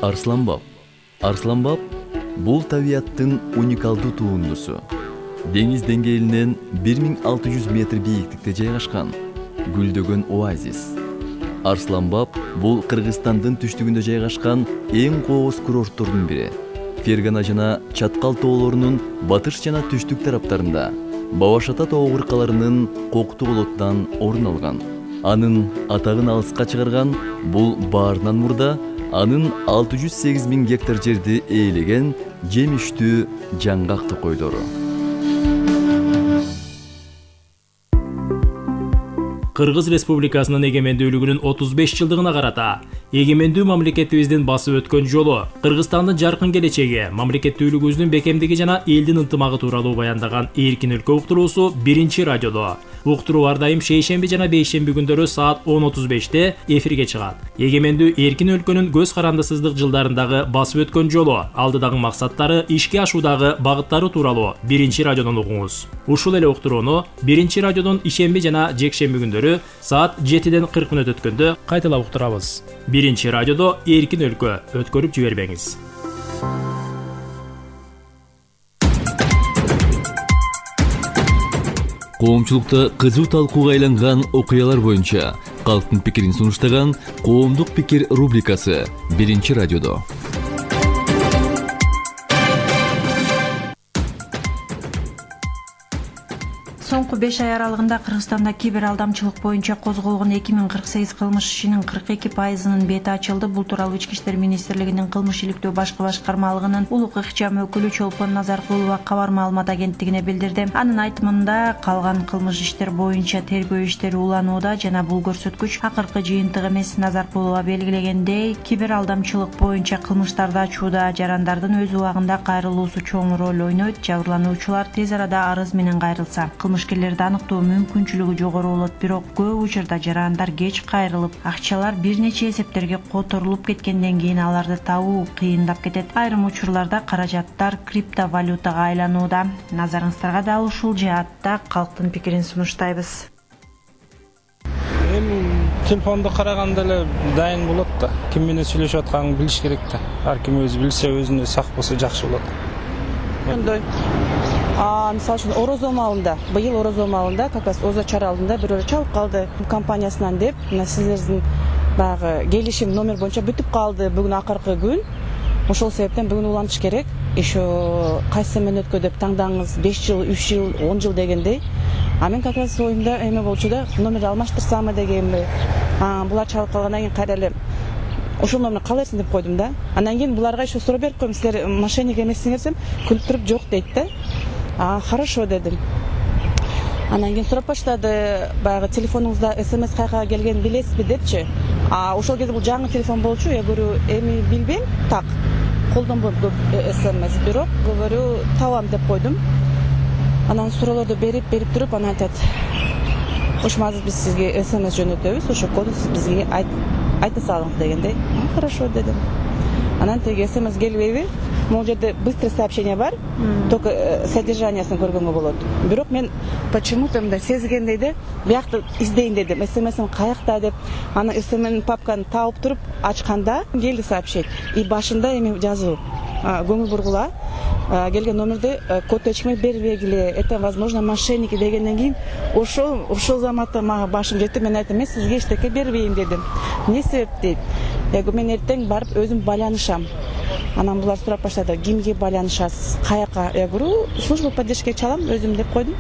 Арсланбап. Арсланбап бул табияттын уникалдуу туындусу. Деңиз деңгээлинен 1600 метр бийиктикте жайгашкан гүлдөгөн оазис. Арсланбап бул Кыргызстандын түштүгүндө жайгашкан эң кооз курорттордун бири. Фергана жана Чаткал тоолорунун батыш жана түштүк тараптарында Бабашата тоо кыркаларынын коктуу болоттан орун алган. Анын атагын алыска чыгарган бул баарынан мурда анын 608 000 гектар жерди ээлеген жемиштүү жаңгак токойлору. Кыргыз Республикасынын эгемендүүлүгүнүн 35 жылдыгына карата эгемендүү мамлекетибиздин басып өткөн жолу, Кыргызстандын жаркын келечеги, мамлекеттүүлүгүбүздүн бекемдиги жана элдин ынтымагы тууралуу баяндаган Эркин өлкө уктуруусу 1-радиодо. Уктуруу ар дайым шейшемби жана бейшемби күндөрү саат 10:35 эфирге чыгат. Эгемендүү Эркин өлкөнүн көз карандысыздык жылдарындагы басып өткөн жолу, алдыдагы максаттары, ишке ашуудагы багыттары тууралуу 1-радиодон угуңуз. Ушул эле уктурууну 1-радиодон ишемби жана жекшемби күндөрү саат 7:40 өткөндө кайталап уктурабыз. 1-радиодо Эркин өлкө, өткөрүп жибербеңиз. Коомчулукта кызуу талкууга айланган окуялар боюнча калктын пикирин сунуштаган Коомдук пикир рубрикасы 1-радиодо. Соңку 5 ай аралыгында Кыргызстанда кибер алдамчылык боюнча козголгон 2048 кылмыш ишинин 42%-нын бети ачылды. Бул тууралуу Ички иштер министрлигинин кылмыш иликтөө башкы башкармалыгынын улук ыкчам өкүлү Чолпон Назаркулова кабар маалымат агенттигине билдирди. Анын айтымында, калган кылмыш иштер боюнча тергөө иштери уланууда жана бул көрсөткүч акыркы жыйынтык эмес. Назаркулова белгилегендей, кибер алдамчылык боюнча кылмыштарды ачууда жарандардын өз убагында кайрылуусу чоң роль ойнойт. Жабырлануучулар тез арада арыз менен кайрылса, кылмышкерлерди аныктоо мүмкүнчүлүгү жогору болот. Бирок көп учурда жарандар кеч кайрылып, акчалар бир нече эсептерге которулуп кеткенден кийин аларды табуу кыйындап кетет. Айрым учурларда каражаттар криптовалютага айланууда. Назарыңыздарга да ушул жаатта калктын пикирин сунуштайбыз. Телефонду караганда эле дайын болот да. Ким менен сүйлөшүп атканын билиш керек да. Ар ким өзү билсе, өзүнө сак болсо жакшы болот. Мындай мисалы үчүн орозо маалында, быйыл орозо маалында как раз Озо чара алдында бирөө чалып калды компаниясынан деп, мына сиздердин баягы келишим номер боюнча бүтүп калды, бүгүн акыркы күн. Ошол себептен бүгүн улантыш керек. Еще кайсы менен өткө деп таңдаңыз, 5 жыл, 3 жыл, 10 жыл дегендей. А мен как раз оюмда эме болчу да, номерди алмаштырсамбы дегенби. Булар чалып калгандан кийин кайра эле ошол номерди калайсың деп койдум да. Андан кийин буларга еще суроо берип койдум, силер мошенник эмессиңер десем, күлүп туруп жок дейт да. Хорошо дедим. Андан кийин сурап баштады, баягы телефонуңузда СМС кайка келгенин билесизби депчи. Ошол кезде бул жаңы телефон болчу, я говорю, эми билбейм, так. Колдонбойм көп СМС, бирок говорю, табам деп койдум. Анан суроолорду берип туруп, анан айтат, ошо азыр биз сизге СМС жөнөтөбүз, ошо коду сиз бизге айта салыңыз дегендей. Хорошо дедим. Анан теги СМС келбейби? Могул жерде быстрый сообщение бар, только содержаниясын көргөнгө болот. Бирок мен почему-то мындай сезгендей де, биякты издейин дедим, СМС'им каякта деп. Аны СМС'ин папканы таап туруп ачканда келди сообщение. И башында эми жазуу, көңүл бургула, келген номерди код эчкиме бербегиле, это возможно мошенники дегенден кийин ошол заматта мага башым жетти. Мен айттым, мен сизге эчтеке бербейм дедим. Эмне себеп дейт? Мен эртең барып өзүм байланышам. Анан булар сурап баштады, кимге байланышасыз, каяка? Я говорю, служба поддержки чалам өзүм деп койдум.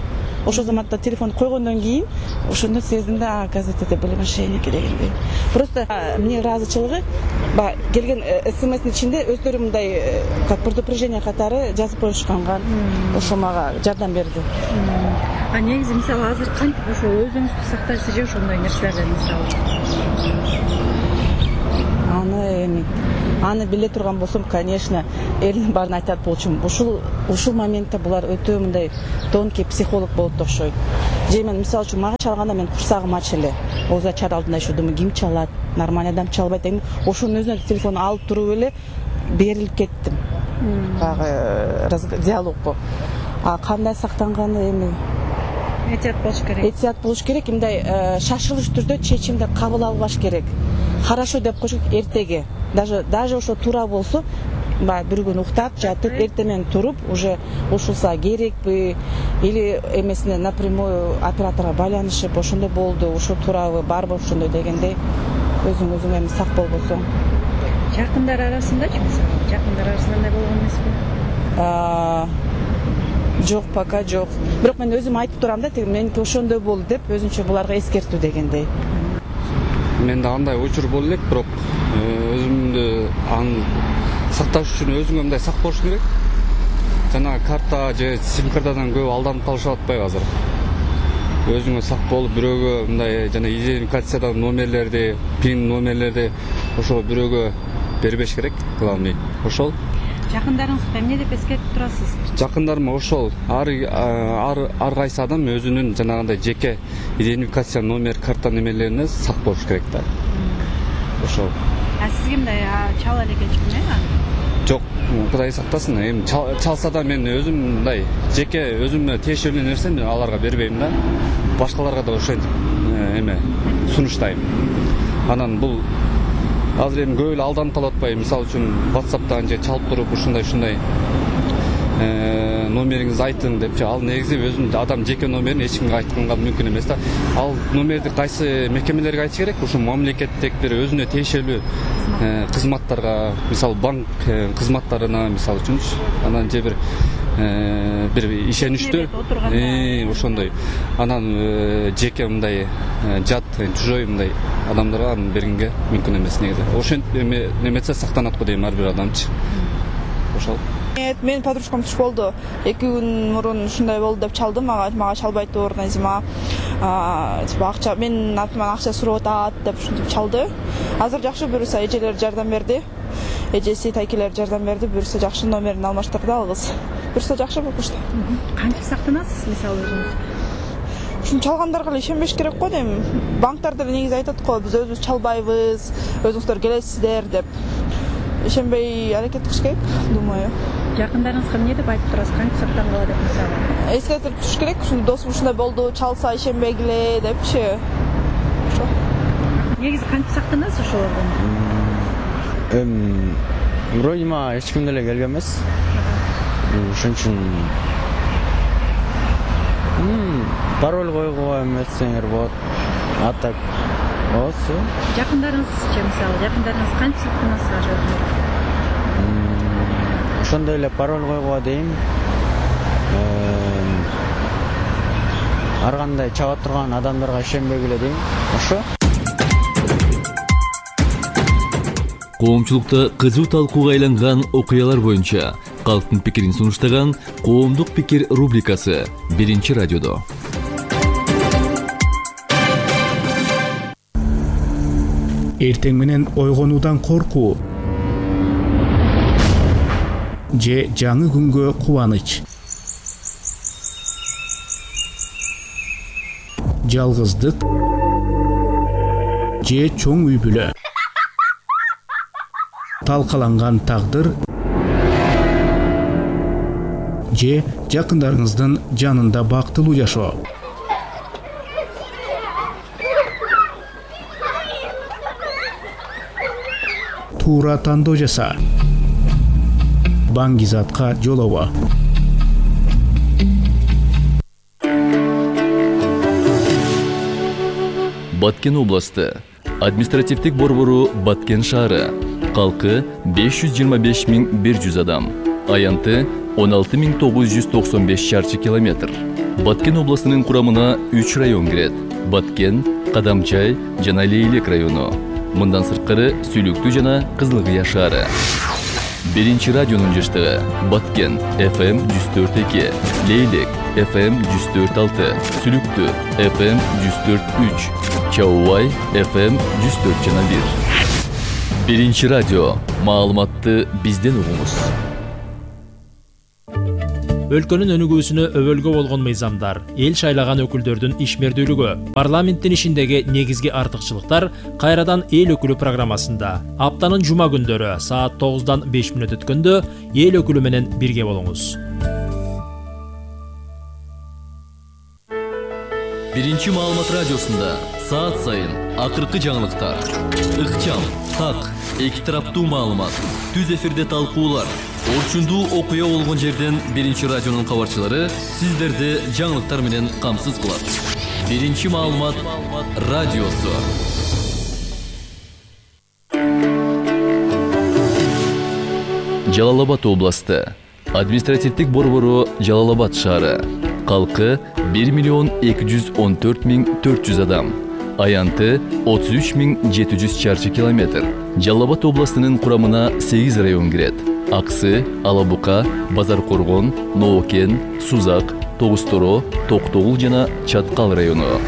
Ошол заматта телефон койгондон кийин ошондо сездим да, оказывается, это были мошенники дегендей. Просто мне ыраазычылыгы, келген СМС'нин ичинде өздөрү мындай как предупреждение катары жазып коюшканга, ошо мага жардам берди. Негизи мисалы азыр кантип ошо өзүңүздү сактайсыз же ошондой нерселерден мисалы? Аны биле турган болсом, конечно, элдин баарын айтат болчумун. Ушул моментте булар өтө мындай тонкий психолог болуп окшойт. Же мен мисалы үчүн мага чалганда мен курсагым ач эле. Оза чара алдында еще думаю, ким чалат? Нормальный адам чалбайт деген. Ошонун өзүнө телефон алып туруп эле берилип кеттим. Багы диалогго. Кандай сактанганы эми Этият болуш керек. Этият болуш керек, мындай шашылыш түрдө чечимди кабыл албаш керек. Хорошо деп коюш эртеге. даже ошо туура болсо баягы бир күн уктап жатып эртең менен туруп уже ушулса керекпи или эмесине напрямую операторго байланышып ошондой болду ушул туурабы барбы ошондой дегендей өзүң эми сак болбосоң. Жакындар арасындачы мисалы? Жакындар арасында андай болгон эмеспи? Жок, пока жок. Бирок мен өзүм айтып турам да, меники ошондой болду деп, өзүнчө буларга эскертүү дегендей. Менде андай учур болду элек, бирок өзүмдү аны сакташ үчүн өзүңө мындай сак болуш керек. Жана карта же сим картадан көп алданып калышып атпайбы азыр. Өзүңө сак болуп, бирөөгө мындай жана идентификациядан номерлерди, пин номерлерди ошо бирөөгө бербеш керек, главный. Ошол. Жакындарыңызга эмне деп эскертип турасыз? Жакындарыма ошол ар кайсы адам өзүнүн жанагындай жеке идентификация номер, карта немелерине сак болуш керек да. Ошол. Сизге мындай чала элек эчкине? Жок, Кудай сактасын. Эми чалса да мен өзүм мындай жеке өзүмө тиешелүү нерсени аларга бербейм да. Башкаларга да ошентип сунуштайм. Анан бул азыр эми көп эле алданып калып атпайбы? Мисалы үчүн WhatsApp'тан же чалып туруп ушундай номериңизди айтың депчи, ал негизи өзүнүн адам жеке номерин эч кимге айтканга мүмкүн эмес да. Ал номерди кайсы мекемелерге айтыш керек? Ушу мамлекеттик бир өзүнө тиешелүү кызматтарга, мисалы банк кызматтарына, мисалы үчүнчү, анан же бир ишеничтүү ошондой. Анан жеке мындай жат, чужой мындай адамдарга аны бергенге мүмкүн эмес негизи. Ошентип неметсе сактанат го дейм ар бир адамчы. Ошол. Менин подружкам туш болду. 2 күн мурун ушундай болду деп чалды мага чалбай тур, Назима. Акча менин атыман акча сурап атат деп ушинтип чалды. Азыр жакшы, буюрса эжелер жардам берди. Эжеси, тайкелер жардам берди. Буюрса жакшы номерин алмаштырды ал кыз. Буюрса жакшы болушту. Кантип сактанасыз мисалы өзүңүз? Ушун чалгандарга эле ишенбеш керек го дейм. Банктар деле негизи айтат го, биз өзүбүз чалбайбыз, өзүңүздөр келесиздер деп. Ишенбей аракет кылыш керек, думаю. Жакындарыңызга эмне деп айтып турасыз? Кантип сактангыла деп мисалы? Эскертип туруш керек, ушундай досум ушундай болду, чалса ишенбегиле депчи. Ошо. Негизи кантип сактанасыз ошолордон? Вроде мага эч ким деле келген эмес. Ошон үчүн пароль койгуга эметсеңер болот. А так Осы. Жакындарыңызчы мисалы, жакындарыңыз кантип сактанасыздар өзүңөр? Ошондой эле пароль койгуга дейм. Ар кандай чаба турган адамдарга ишенбегиле дейм. Ошо. Коомчулукта кызуу талкууга айланган окуялар боюнча калктын пикирин сунуштаган Коомдук пикир рубрикасы 1-радиодо. Эртең менен ойгонуудан коркуу же жаңы күнгө кубаныч, жалгыздык же чоң үй бүлө, талкаланган тагдыр же жакындарыңыздын жанында бактылуу жашоо. Туура тандоо жаса. Баңгизатка жолобо. Баткен областы. Административдик борбору Баткен шаары. Калкы 525.100 адам. Аянты 16.995 шарчы километр. Баткен областынын курамына 3 район кирет. Баткен, Кадамчай жана Лейлек району. Мындан сырткары Сүлүктүү жана Кызылкыя шаары. 1-радионун жаштыгы Баткен FM 104.2, Лейлек FM 104.6, Сүлүктүү FM 104.3, Чаубай FM 104.1. 1-радио. Маалыматты бизден угуңуз. Өлкөнүн өнүгүүсүнө өбөлгө болгон мыйзамдар, эл шайлаган өкүлдөрдүн ишмердүүлүгү, парламенттин ишиндеги негизги артыкчылыктар кайрадан эл өкүлү программасында. Аптанын жума күндөрү саат 9-дан 5 мүнөт өткөндө эл өкүлү менен бирге болуңуз. Биринчи маалымат радиосунда саат сайын акыркы жаңылыктар, ыкчам, так, эки тараптуу маалымат, түз эфирде талкуулар, орчундуу окуя болгон жерден Биринчи радионун кабарчылары сиздерди жаңылыктар менен камсыз кылат. Биринчи маалымат радиосу. Жалал-Абад областы. Административдик борбору Жалал-Абад шаары. Калкы 1,214,400 адам. Аянты 33,700 чарчы километр. Жалал-Абад областынын курамына 8 район кирет. Аксы, Алабука, Базар-Коргон, Ноокен, Сузак, Тогусторо, Токтогул жана Чаткал району.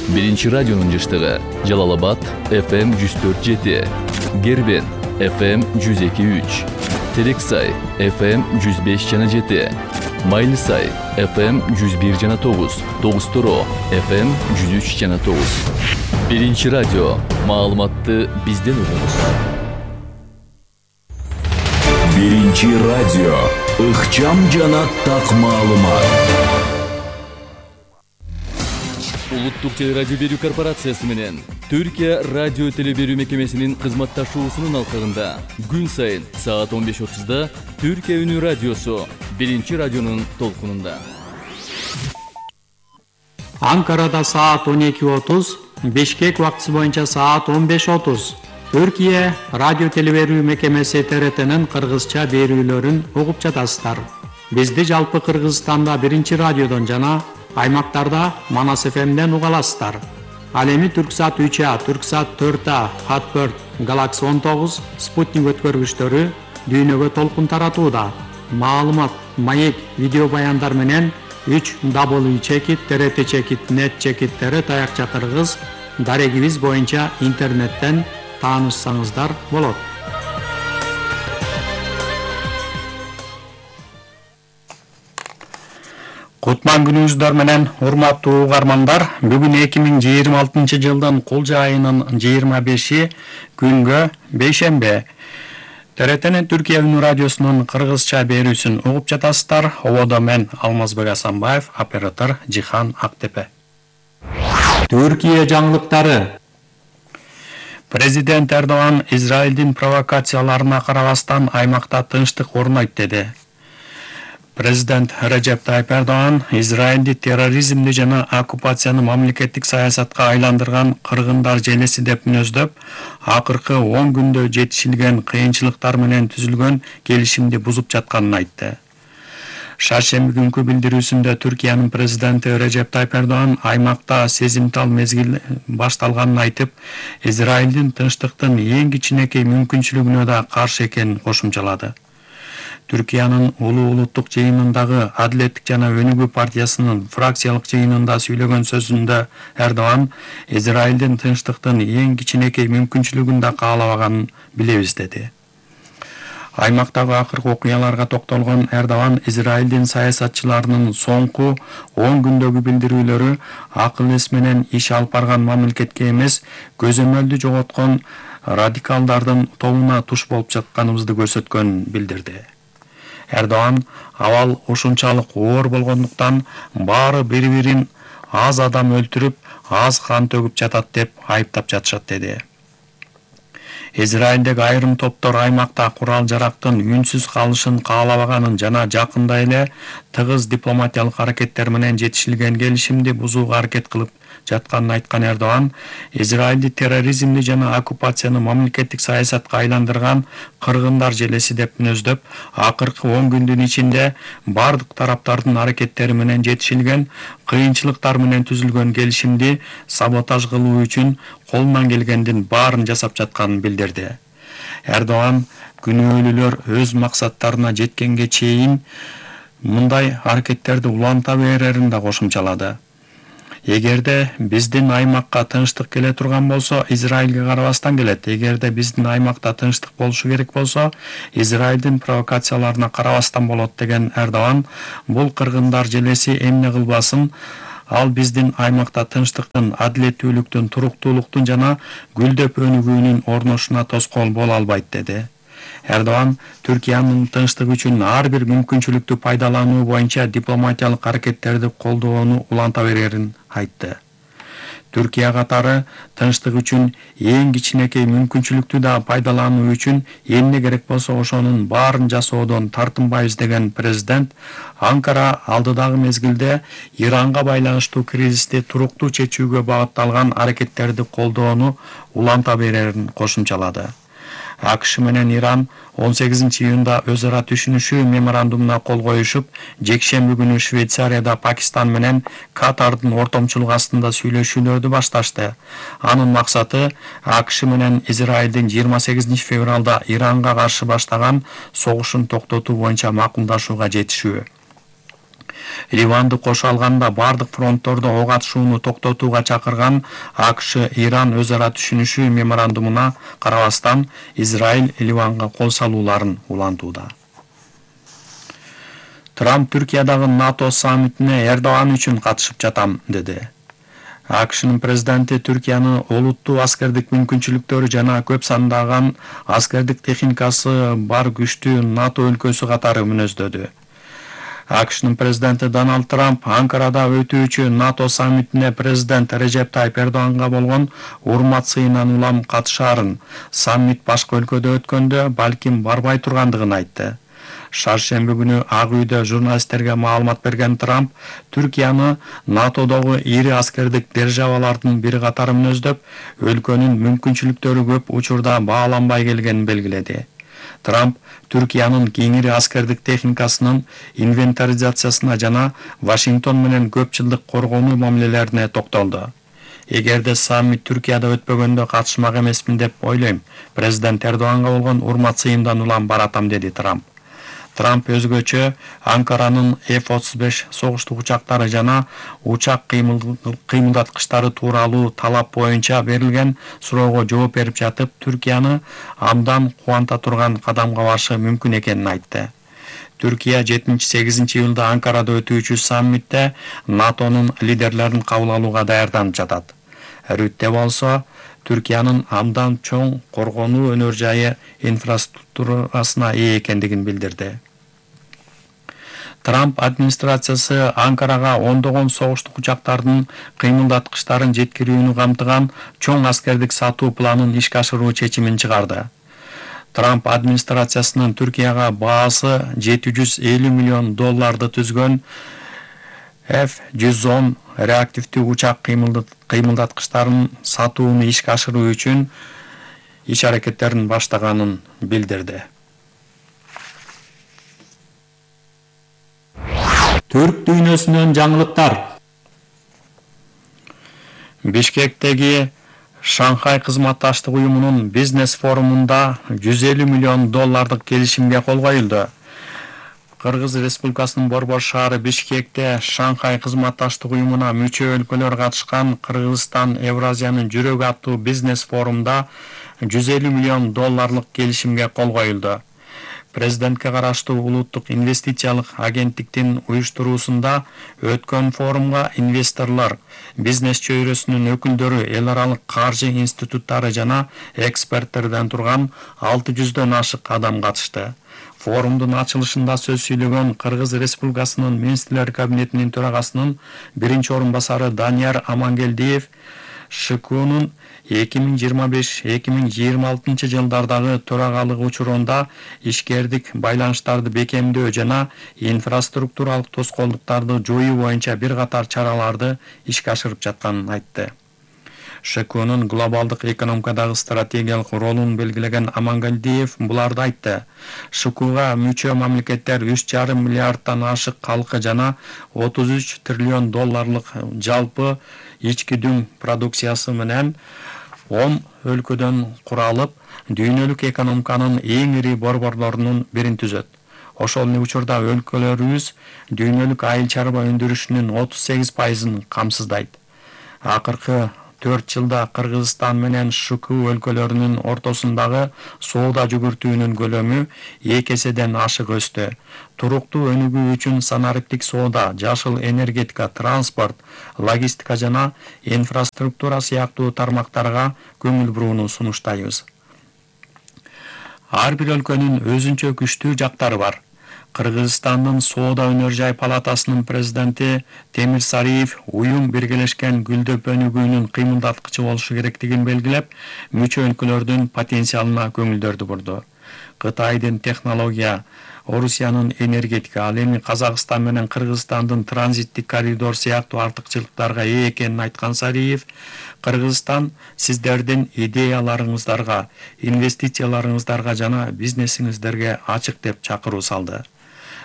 Биринчи радионун жыштыгы Жалал-Абад FM 104.7, Гербен FM 102.3, Терексай FM 105.7, Майлысай FM 101.9, Тогусторо FM 103.9. Биринчи радио. Маалыматты бизден угуңуз. Биринчи радио. Ыкчам жана так маалымат. Улуттук телерадио берүү корпорациясы менен Түркия радио теле берүү мекемесинин кызматташуусунун алкагында күн сайын саат 15:30да Түркия үнү радиосу Биринчи радионун толкунунда. Анкарада саат 12:30, Бишкек убактысы боюнча саат 15:30. Түркия радио теле берүү мекемеси ТРТнин кыргызча берүүлөрүн угуп жатасыздар. Бизди жалпы Кыргызстанда Биринчи радиодон жана аймактарда Манас ФМден уга аласыздар. Ал эми Түрксат 3А, Түрксат 4А, Хатберт, Галакси 19, Спутник өткөргүчтөрү дүйнөгө толкун таратууда. Маалымат, маек, видео баяндар менен 3w.trt.net таякча кыргыз дарегибиз боюнча интернеттен таанышсаңыздар болот. Кутман күнүңүздөр менен урматтуу угармандар, бүгүн 2026 жылдын кулжа айынын 25 күнгө бейшембе. ТРТнин Түркия үнү радиосунун кыргызча берүүсүн угуп жатасыздар. Ободо мен Алмазбек Асанбаев, оператор Жихан Актепе. Түркия жаңылыктары. Президент Эрдоган Израилдин провокацияларына карабастан аймакта тынчтык орнойт деди. Президент Режеп Тайип Эрдоган Израилди терроризмди жана оккупацияны мамлекеттик саясатка айландырган кыргындар желеси деп мүнөздөп, акыркы 10 күндө жетишилген кыйынчылыктар менен түзүлгөн келишимди бузуп жатканын айтты. Шаршемби күнкү билдирүүсүндө Түркиянын президенти Режеп Тайип Эрдоган аймакта сезимтал мезгил башталганын айтып, Израилдин тынчтыктын эң кичинекей мүмкүнчүлүгүнө да каршы экенин кошумчалады. Түркиянын улуттук жыйынындагы Адилеттик жана Өнүгүү партиясынын фракциялык жыйынында сүйлөгөн сөзүндө Эрдоган Израилдин тынчтыктын эң кичинекей мүмкүнчүлүгүн да каалабаганын билебиз деди. Аймактагы акыркы окуяларга токтолгон Эрдоган Израилдин саясатчыларынын соңку 10 күндөгү билдирүүлөрү акыл эс менен иш алып барган мамлекетке эмес, көзөмөлдү жоготкон радикалдардын тобуна туш болуп жатканыбызды көрсөткөнүн билдирди. Эрдоган абал ушунчалык оор болгондуктан баары бири-бирин аз адам өлтүрүп, аз кан төгүп жатат деп айыптап жатышат деди. Израилдеги айрым топтор аймакта курал-жарактын үнсүз калышын каалабаганын жана жакында эле тыгыз дипломатиялык аракеттер менен жетишилген келишимди бузууга аракет кылып жатканын айткан Эрдоган, Израилди терроризмди жана оккупацияны мамлекеттик саясатка айландырган кыргындар желеси деп мүнөздөп, акыркы 10 күндүн ичинде бардык тараптардын аракеттери менен жетишилген кыйынчылыктар менен түзүлгөн келишимди саботаж кылуу үчүн колунан келгендин баарын жасап жатканын билдирди. Эрдоган күнөөлүүлөр өз максаттарына жеткенге чейин мындай аракеттерди уланта берерин да кошумчалады. Эгерде биздин аймакка тынчтык келе турган болсо, Израилге карабастан келет. Эгерде биздин аймакта тынчтык болушу керек болсо, Израилдин провокацияларына карабастан болот деген Эрдоган, бул кыргындар желеси эмне кылбасын, ал биздин аймакта тынчтыктын, адилеттүүлүктүн, туруктуулуктун жана гүлдөп өнүгүүнүн орношуна тоскоол боло албайт деди. Эрдоган Түркиянын тынчтык үчүн ар бир мүмкүнчүлүктү пайдалануу боюнча дипломатиялык аракеттерди колдоону уланта берерин айтты. Түркия катары тынчтык үчүн эң кичинекей мүмкүнчүлүктү да пайдалануу үчүн эмне керек болсо ошонун баарын жасоодон тартынбайбыз деген президент Анкара алдыдагы мезгилде Иранга байланыштуу кризисти туруктуу чечүүгө багытталган аракеттерди колдоону уланта берерин кошумчалады. АКШ менен Иран 18-июнда өз ара түшүнүшүү меморандумуна кол коюшуп, жекшемби күнү Швейцарияда Пакистан менен Катардын ортомчулугу астында сүйлөшүүлөрдү башташты. Анын максаты АКШ менен Израилдин 28 февралда Иранга каршы баштаган согушун токтотуу боюнча макулдашууга жетишүү. Ливанды кошо алганда бардык фронттордо ок атышууну токтотууга чакырган АКШ Иран өз ара түшүнүшүү меморандумуна карабастан Израиль Ливанга кол салууларын улантууда. Трамп Түркиядагы НАТО саммитине Эрдоган үчүн катышып жатам деди. АКШнын президенти Түркияны олуттуу аскердик мүмкүнчүлүктөрү жана көп сандаган аскердик техникасы бар күчтүү НАТО өлкөсү катары мүнөздөдү. АКШнын президенти Дональд Трамп Анкарада өтүүчү НАТО саммитине президент Режеп Тайип Эрдоганга болгон урмат сыйынан улам катышаарын, саммит башка өлкөдө өткөндө балким барбай тургандыгын айтты. Шаршемби күнү Ак үйдө журналисттерге маалымат берген Трамп Түркияны НАТОдогу ири аскердик державалардын бири катары мүнөздөп, өлкөнүн мүмкүнчүлүктөрү көп учурда бааланбай келгенин белгиледи. Трамп Түркиянын кеңири аскердик техникасынын инвентаризациясына жана Вашингтон менен көп жылдык коргонуу мамилелерине токтолду. Эгерде саммит Түркияда өтпөгөндө катышмак эмесмин деп ойлойм. Президент Эрдоганга болгон урмат сыйымдан улам баратам, деди Трамп. Трамп өзгөчө Анкаранын F-35 согуштук учактары жана учак кыймылдаткычтары тууралуу талап боюнча берилген суроого жооп берип жатып, Түркияны абдан кубанта турган кадамга барышы мүмкүн экенин айтты. Түркия 7-8 июлда Анкарада өтүүчү саммитте НАТОнун лидерлерин кабыл алууга даярданып жатат. Рүттө болсо Түркиянын абдан чоң коргонуу өнөр жайы инфраструктурасына ээ экендигин билдирди. Трамп администрациясы Анкарага ондогон согуштук учактардын кыймылдаткычтарын жеткирүүнү камтыган чоң аскердик сатуу планын ишке ашыруу чечимин чыгарды. Трамп администрациясынын Түркияга баасы $750 миллион түзгөн F-110 реактивдүү учак кыймылдаткычтарын сатууну ишке ашыруу үчүн иш аракеттерин баштаганын билдирди. Түрк дүйнөсүнөн жаңылыктар. Бишкектеги Шанхай кызматташтык уюмунун бизнес форумунда $150 миллион келишимге кол коюлду. Кыргыз Республикасынын Борбор шаары Бишкекте Шанхай кызматташтык уюмуна мүчө өлкөлөр катышкан Кыргызстан Евразиянын жүрөгү аттуу бизнес форумда $150 миллион келишимге кол коюлду. Президентке караштуу улуттук инвестициялык агенттиктин уюштуруусунда өткөн форумга инвесторлор, бизнес чөйрөсүнүн өкүлдөрү, эл аралык каржы институттары жана эксперттерден турган 600дөн ашык адам катышты. Форумдун ачылышында сөз сүйлөгөн Кыргыз Республикасынын Министрлер кабинетинин төрагасынын биринчи орун басары Данияр Амангелдиев ШКУнун 2025-2026 жылдардагы төрагалыгы учурунда ишкердик байланыштарды бекемдөө жана инфраструктуралык тоскоолдуктарды жоюу боюнча бир катар чараларды ишке ашырып жатканын айтты. ШКУнун глобалдык экономикадагы стратегиялык ролун белгилеген Амангелдиев буларды айтты. ШКУга мүчө мамлекеттер 3,5 миллиарддан ашык калкы жана $33 триллион жалпы ички дүң продукциясы менен 10 өлкөдөн куралып, дүйнөлүк экономиканын эң ири борборлорунун бирин түзөт. Ошол эле учурда өлкөлөрүбүз дүйнөлүк айыл чарба өндүрүшүнүн 38%-ын камсыздайт. Акыркы 4 жылда Кыргызстан менен ШКУ өлкөлөрүнүн ортосундагы соода жүгүртүүнүн көлөмү 2 эседен ашык өстү. Туруктуу өнүгүү үчүн санариптик соода, жашыл энергетика, транспорт, логистика жана инфраструктура сыяктуу тармактарга көңүл бурууну сунуштайбыз. Ар бир өлкөнүн өзүнчө күчтүү жактары бар. Кыргызстандын Соода өнөр жай палатасынын президенти Темир Сариев уюм биргелешкен гүлдөп өнүгүүнүн кыймылдаткычы болушу керектигин белгилеп, мүчө өлкөлөрдүн потенциалына көңүлдөрдү бурду. Кытайдын технология, Орусиянын энергетика, ал эми Казакстан менен Кыргызстандын транзиттик коридор сыяктуу артыкчылыктарга ээ экенин айткан Сариев, Кыргызстан сиздердин идеяларыңыздарга, инвестицияларыңыздарга жана бизнесиңиздерге ачык деп чакыруу салды.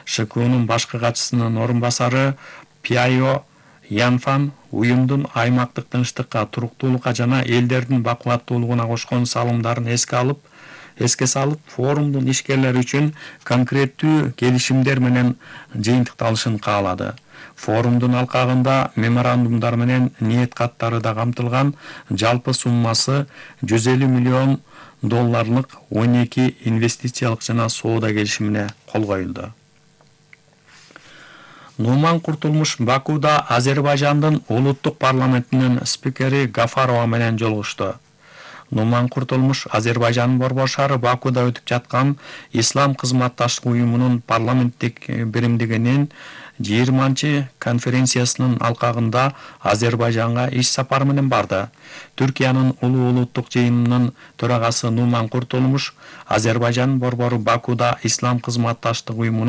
ШКУнун башкы катчысынын орун басары Пиайо Янфан уюмдун аймактык тынчтыкка, туруктуулукка жана элдердин бакубаттуулугуна кошкон салымдарын эске салып, форумдун ишкерлери үчүн конкреттүү келишимдер менен жыйынтыкталышын каалады. Форумдун алкагында меморандумдар менен ниет каттары да камтылган, жалпы суммасы $150 миллион 12 инвестициялык жана соода келишимине кол коюлду. Нуман Куртулмуш Бакуда Азербайжандын улуттук парламентинин спикери Гафарова менен жолугушту. Нуман Куртулмуш Азербайжандын Борбор шаары Бакуда өтүп жаткан Ислам кызматташтык уюмунун парламенттик биримдигинин 20-чы конференциясынын алкагында Азербайжанга иш сапар менен барды. Түркиянын улуттук жыйынынын төрагасы Нуман Куртулмуш Азербайжандын Борбору Бакуда Ислам кызматташтык уюмунун